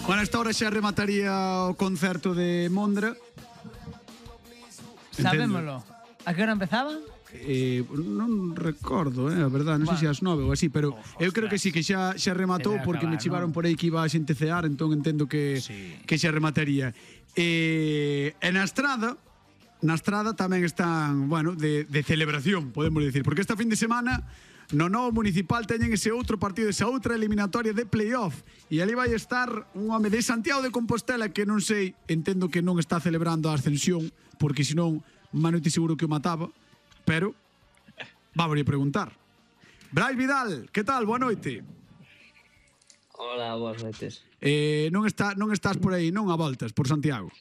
Bueno, esta hora xa remataría o concerto de Mondra. Sabémolo. A que hora empezaba? Non recordo, a verdade, non sei se ás 9 ou así, pero eu creo que sí, que xa rematou, porque me chivaron por aí que iba a xente cear, entón entendo que xa remataría. E na Estrada tamén están, bueno, de celebración, podemos dicir, porque esta fin de semana no novo municipal teñen ese outro partido, esa outra eliminatoria de playoff, e ali vai estar un home de Santiago de Compostela que non sei, entendo que non está celebrando a ascensión, porque senón Manuti seguro que o mataba, pero vamos a preguntar. Brais Vidal, que tal? Boa noite. Hola, boas noites. Non estás por aí, non a voltas, por Santiago?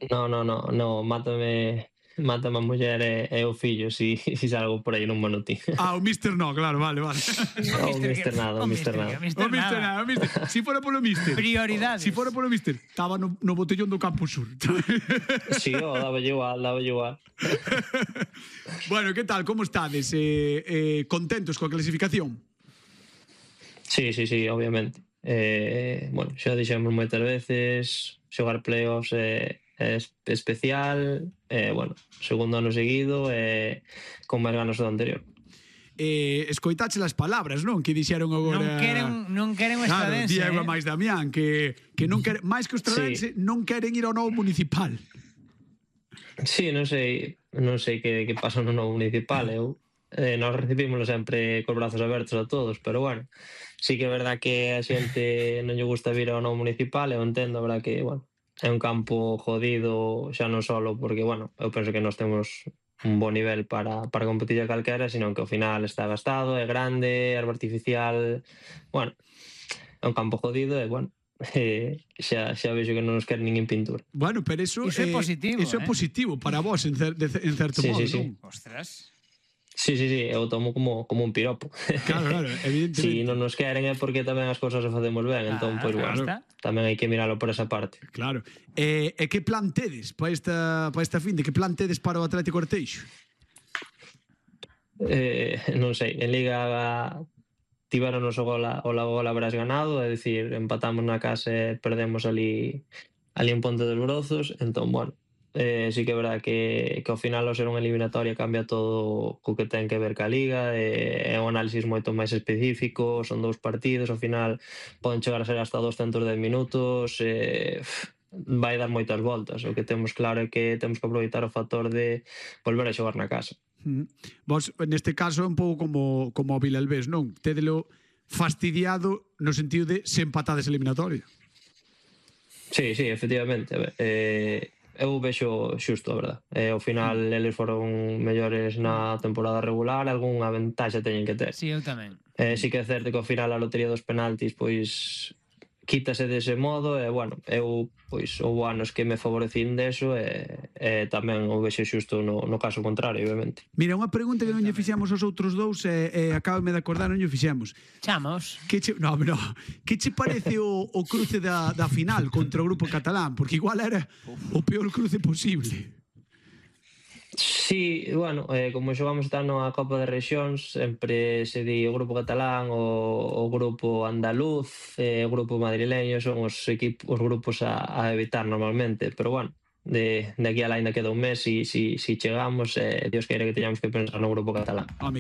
No, mátame a muller e o fillo si salgo por aí nun monotín. O Mister no, claro, vale. O Mister nada. Si fora polo Mister. Prioridades. Si fora polo Mister, estaba no botellón do Campo Sur. Si, daba igual. Bueno, que tal, como estades? Contentos coa clasificación? Sí, obviamente. Bueno, xa dixemos moitas veces, xogar playoffs é especial, bueno, segundo ano seguido e con máis ganas do anterior. Escoitache as palabras, non? Que dixeron agora... Non queren o estradense. Diego máis Damián, que non queren, máis que o estradense, non queren ir ao novo municipal. Sí, non sei que pasa no novo municipal. Nós recibímoslo sempre cos brazos abertos a todos, pero bueno, sí que é verdad que a xente non lle gusta vir ao novo municipal, eu entendo, a verdad que, bueno, é un campo jodido xa non solo porque, bueno, eu penso que nós temos un bo nivel para competir a calquera, sino que ao final está gastado, é grande, erva artificial, bueno, é un campo jodido e, bueno, xa vexo que non nos quer nin en pintura. Bueno, pero iso é positivo. Iso é positivo para vos, en certo modo, non? Ostras. Sí, eu tomo como un piropo. Claro, evidentemente. Si non nos queren é porque tamén as cousas se facemos ben, entón, pois, bueno, tamén hai que miralo por esa parte. Claro. E que plan tedes para esta fin? Que plan tedes para o Atlético Orteixo? Non sei, en Liga tiveronos o gol habrás ganado, é dicir, empatamos na casa e perdemos ali en Ponte dos Brozos, entón, bueno, sí que é verdad que ao final ao ser unha eliminatoria cambia todo co que ten que ver ca Liga, é un análisis moito máis específico, son 2 partidos, ao final poden chegar a ser hasta 210 minutos, vai dar moitas voltas. O que temos claro é que temos que aproveitar o factor de volver a xogar na casa. Vos, neste caso, é un pouco como o Vilalbés, non? Tédelo fastidiado no sentido de se empatades eliminatoria. Sí, efectivamente. Eu vexo xusto, a verdad. Ao final, eles foron mellores na temporada regular, algunha ventaxa teñen que ter. Sí, eu tamén. Sí que é certo que ao final a lotería dos penaltis, pois, quítase dese modo, e, bueno, eu, pois, houve anos que me favorecín deso, e tamén o vexo xusto no caso contrario, obviamente. Mira, unha pregunta que non lle fixemos aos outros dous, e acábame de acordar, non lle fixemos. Chamos. Que che parece o cruce da final contra o grupo catalán? Porque igual era o peor cruce posible. Sí, bueno, como xogamos tanto a Copa de Rexións, sempre se di o grupo catalán, o grupo andaluz, o grupo madrileño, son os grupos a evitar normalmente, pero bueno, de aquí a lá ainda queda un mes, si chegamos, Dios queira que teñamos que pensar no grupo catalán.